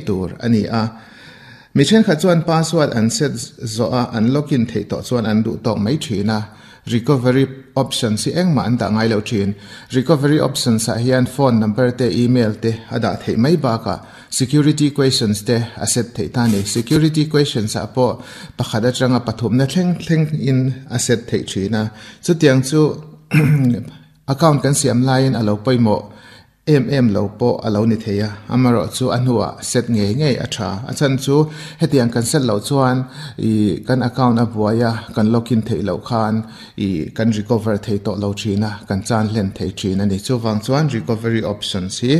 tur a ni a. Mi thenkhat chuan password an set zawh a, an login theih tawh chuan an duh tawk mai thin a. Recovery options hi engmah an dah ngai lo thin. Recovery options ah hian phone number te, email te a dah theih mai bakah security questions te a set theih ta a ni. Security questions ah pawh pakhat atanga pathumna thleng thleng in a set theih thin a. Chutiang chu account kan siam laiin a lo pawimawh. Em em lo pawh a lo ni thei a, amaherawhchu a hnuah set ngei ngei a tha. A chhan chu hetiang kan set loh chuan ih kan account a buai a, kan login theih loh khan ih kan recover thei tawh lo thin a, kan chan hlen thei thin a ni. Chuvang chuan recovery options hi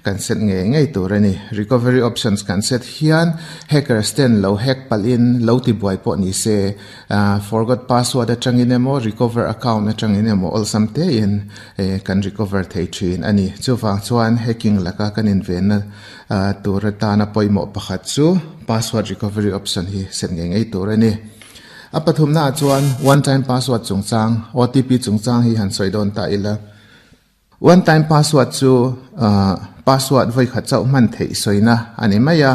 kan set ngei ngei tur a ni. Recovery options kan set hian hackers ten lo hack palhin lo ti buai pawh ni se, Forgot password atangin emaw recover account atangin emaw awlsam tein kan recover thei thin a ni. Chuvang chuan hacking laka kan invenna tur atana pawimawh pakhat chu password recovery option hi set ngei ngei tur a ni. A pathumnaah chuan one time password chungchang, OTP chungchang hi han sawi dawn ta ila. One time password chu password vawikhat chauh hman theih sawina a ni mai a,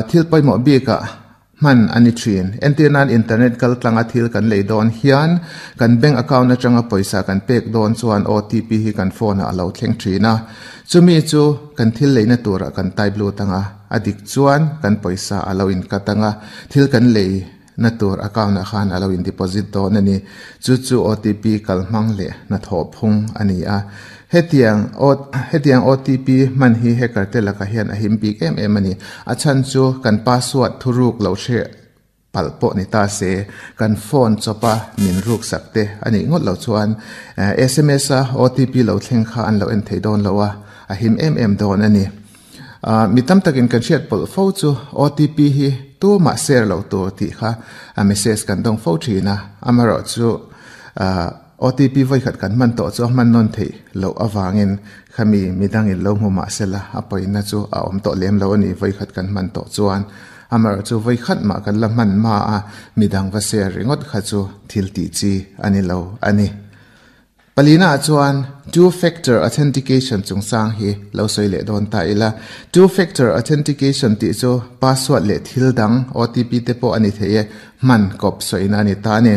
thil pawimawh bikah hman a ni thin. Entir nan internet kal tlanga thil kan lei dawn hian kan bank account atanga pawisa kan pek dawn chuan OTP hi kan phone ah a lo thleng thin a, chumi chu kan thil leina turah kan type lut anga, a dik chuan kan pawisa a lo in cut anga, thil kan lei Na tur account ah khan a lo in deposit dawn a ni. Chu chu OTP kal hmang leh hnathawh phung a ni a. Hetiang hetiang OTP hman hi hacker te lakah hian a him bik em em a ni. A chhan chu kan password thuruk lo hre palh pawh ni ta se, kan phone chawpa min ruk sak te a nih ngawt lo chuan sms a OTP lo thleng kha an lo en thei dawn lo a, a him em em dawn a ni. Mi tam takin kan hriat pawlh fo chu OTP hi tumah share lo tur tih kha a message kan dawng fo thin a, amaherawh chu OTP vawikhat kan hman tawh chu a hman nawn theih loh avangin khami midangin lo hmu mah sela a pawina chu a awm tawh lem lo a ni vawikhat kan hman tawh chuan. Amaherawh chu vawikhat mah kan la hman hma a midang va share ringawt kha chu thil tih chi a ni lo a ni. Palina ah chuan Two Factor Authentication chungchang hi lo sawi leh dawn ta ila. Two Factor Authentication tih chu password leh thil dang, OTP te pawh a ni thei e, hman kawp sawina a ni ta a ni.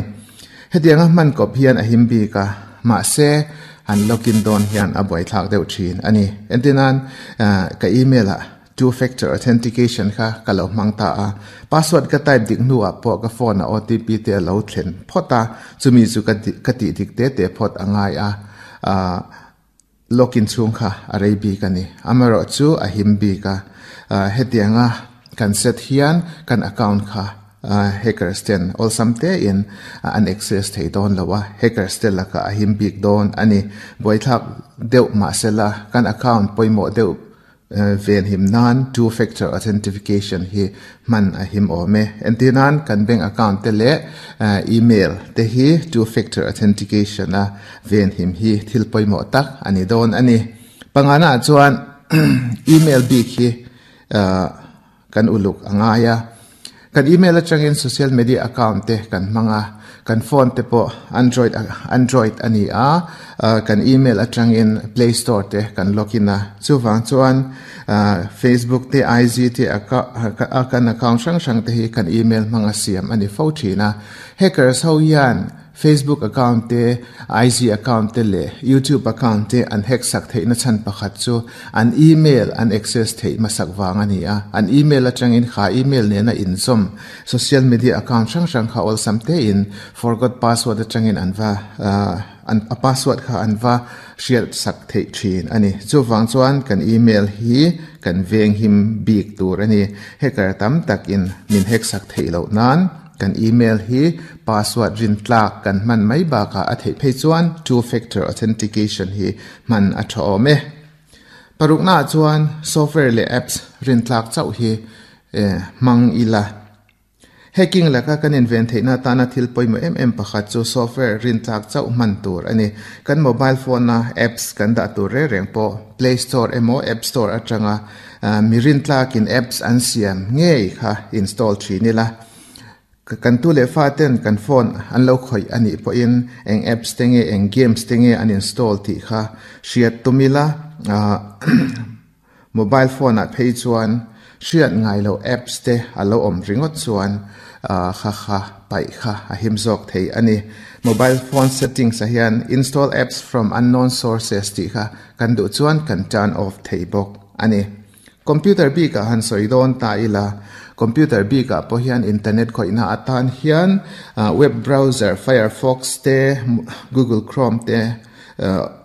Hetianga hman kawp hian a him bik a, mahse han login dawn hian a buaithlak deuh thin a ni. Entirnan, ka email ah Two factor authentication kha ka lo hmang ta a, password ka type dik hnuah pawh ka phone ah OTP te a lo thlen phawt a, chumi chu ka ka tih dik te te phawt a ngai a, ah login chhung kha a rei bik a ni. Amaherawh chu a him bik a, ah hetianga kan set hian kan account kha Hackers ten awlsam tein an access thei dawn lo a, hackers te lakah a him bik dawn a ni. Buaithlak deuh mahsela kan account pawimawh deuh Venhim nan two factor authentication hi hman a him awm e. Entir nan kan bank account te leh email te hi two factor authentication a venhim hi thil pawimawh tak a ni dawn a ni. Pangana ah chuan email bik hi kan uluk a ngai a. Kan email atangin social media account te kan hmang a, kan phone te pawh android android a ni a, kan email atangin play store te kan log in a, chuvang chuan Facebook te IG te a kan account hrang hrang te hi kan email hmang a siam a ni fo thin a, hackers ho hian Facebook account te, IG account te leh YouTube account te an hack sak theihna chhan pakhat chu an email an access theih hmasak vang a ni a. An email atangin kha email nena inzawm social media account hrang hrang kha awlsam tein forgot password atangin an va an a password kha an va hriat sak theih thin a ni. Chuvang chuan kan email hi kan venghim bik tur a ni. Hacker tam takin min hack sak theih loh nan. Kan email hi password rin tlak kan hman mai bakah a theih phei chuan two factor authentication hi hman a tha awm e. Paruknaah chuan software leh apps rin tlak chauh hi hmang ila. Hacking laka kan inven theihna atana thil pawimawh em em pakhat chu software rin tlak chauh hman tur a ni. Kan mobile phone-a apps kan dah tur reng reng pawh Play Store emaw App Store atanga mi rin tlakin apps an siam ngei kha install thin ila. Kan tu leh fa ten kan phone an lo khawih a nih pawhin eng apps te nge eng games te nge an install tih kha hriat tum ila. Mobile phone ah phei chuan Hriat ngai loh apps te a lo awm ringawt chuan kha kha paih kha a him zawk thei a ni. Mobile phone settings ah hian install apps from unknown sources tih kha kan duh chuan kan turn off thei bawk a ni. Computer bik ah han sawi dawn ta ila, computer bik ah pawh hian internet khawihna atan hian web browser Firefox te, Google Chrome te,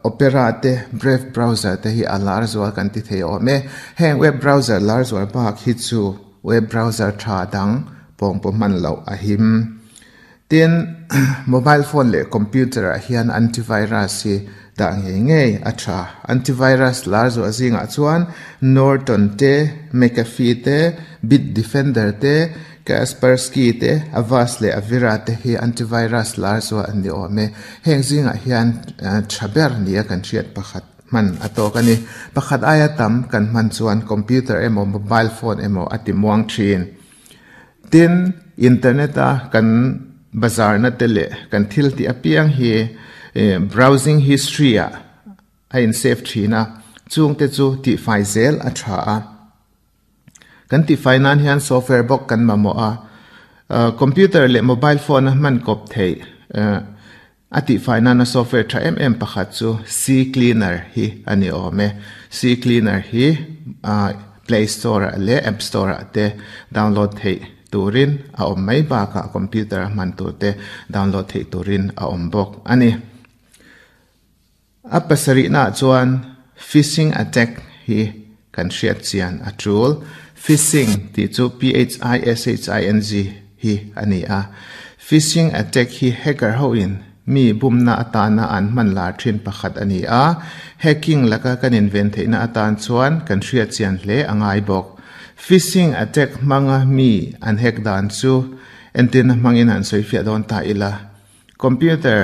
Opera te, Brave browser te hi a lar zual kan ti thei awm e. Heng web browser lar zual bak hi chu web browser tha dang pawng pawh hman loh a him. Tin, mobile phone leh computer ah hian antivirus hi dah ngei ngei a tha. Antivirus lar zuah zingah chuan Norton te, McAfee te, Bitdefender te, Kaspersky te, Avast leh Avira te hi antivirus lar zuah an ni awm e. Heng zingah hian tha ber nia kan hriat pakhat hman a tawk a ni. Pakhat aia tam kan hman chuan computer emaw mobile phone emaw a ti muang thin. Tin, internet a kan bazarna te leh kan thil tih apiang hi browsing history ah a in save thin a, chungte chu tihfai zel a tha a. Kan tihfai nan hian software bawk kan mamawh a, computer leh mobile phone a hman kawp theih a tihfai nana software tha em em pakhat chu CCleaner hi a ni awm e. CCleaner hi Play Store ah leh App Store ah te download theih turin a awm mai bakah computer a hman tur te download theih turin a awm bawk a ni. A pasarihnaah chuan phishing attack hi kan hriat chian a tul. Phishing tih chu P-H-I-S-H-I-N-G hi a ni a. Phishing attack hi hacker hoin mi bumna atana an hman lar thin pakhat a ni a. Hacking laka kan inven theihna atan chuan kan hriat chian hle a ngai bawk. Phishing attack hmanga mi an hack dan chu entirna hmangin han sawifiah dawn ta ila. Computer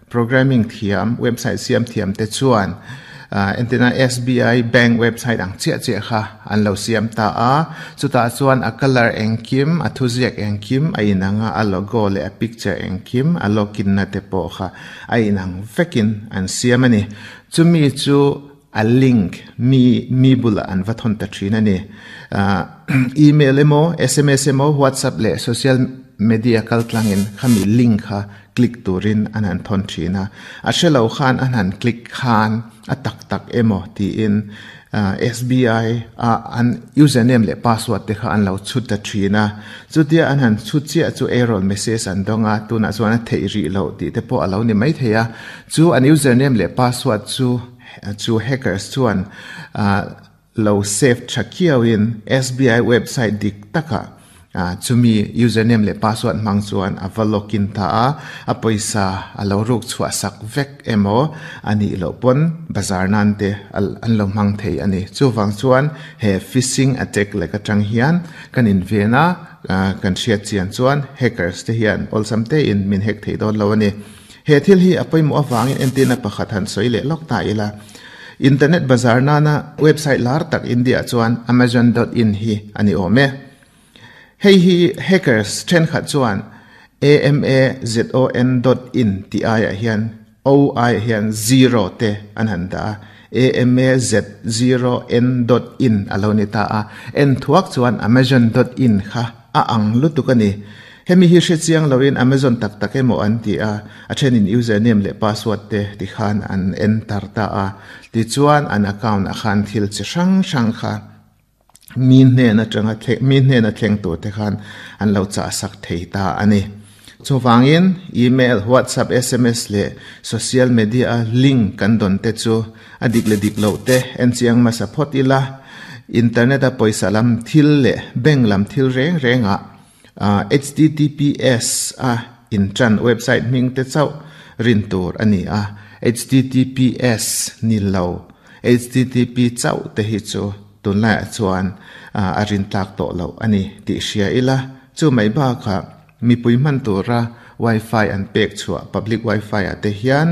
programming thiam, website siam thiam te chuan entirna SBI bank website ang chiah chiah kha an lo siam ta a, chutah chuan a colour engkim, a thuziak engkim a inang a, a logo leh a picture engkim, a login na te pawh kha a inang vekin an siam a ni. Chumi chu a link mi mi bulah an va thawn ta thin a ni. Email emaw, sms emaw, WhatsApp leh social media kaltlangin khami link kha click turin an han thawn thin a. A hre lo khan an han click khan a tak tak emaw tiin SBI a an username leh password te kha an lo chhut ta thin a. Chutia an han chhut chiah chu error message an dawng a, tunah chuan a theih rih loh tih te pawh a lo ni maithei a. Chu an username leh password chu Chu hackers chuan lo save tha kiauin SBI website dik takah chumi username leh password hmang chuan a va login ta a, a pawisa a lo ruk chhuah sak vek emaw a nih loh pawn bazar nan te an lo hmang thei a ni. Chuvang chuan he phishing attack lek atang hian kan inven a, kan hriat chian chuan hackers te hian awlsam tein min hack thei dawn lo a ni. He thil hi a pawimawh avangin entirna pakhat han sawi leh lawk ta ila. Internet bazar nana website lar tak India chuan Amazon dot in hi a ni awm e. Hei hi hackers thenkhat chuan AMAZON dot in tih aiah hian O aiah hian zero te an han dah a, AMAZ0N dot in a lo ni ta a. En thuak chuan Amazon dot in kha a ang lutuk a ni. Hemi hi hre chiang loin Amazon tak tak emaw an ti a, a thenin username leh password te ti khan an enter ta a, tichuan an account ah khan thil chi hrang hrang kha mi hnen atanga mi hnena thleng tur te khan an lo chah sak thei ta a ni. Chuvangin email, WhatsApp, sms leh social media a link kan dawn te chu a dik leh dik loh te en chiang hmasa phawt ila, internet a pawisa lam thil leh bank lam thil reng rengah Https a inṭan website hming te chauh rin tur a ni a, https ni lo http chauh te hi chu tunlaiah chuan a rin tlak tawh loh a ni tih hria ila. Chu mai bakah mipui hman tura wifi an pek chhuah public wifi ah te hian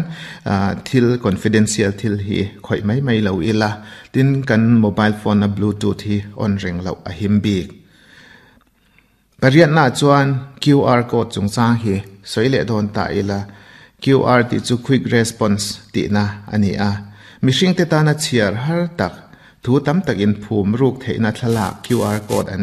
thil confidential thil hi khawih mai mai lo ila, tin kan mobile phone a bluetooth hi on reng loh a him bik. Pariatnaah chuan QR code chungchang hi sawi leh dawn ta ila, QR tih chu Quick Response tihna a ni a. Mihringte tana chhiar har tak, Thu tam tak in phum ruk theihna thlalak QR code an.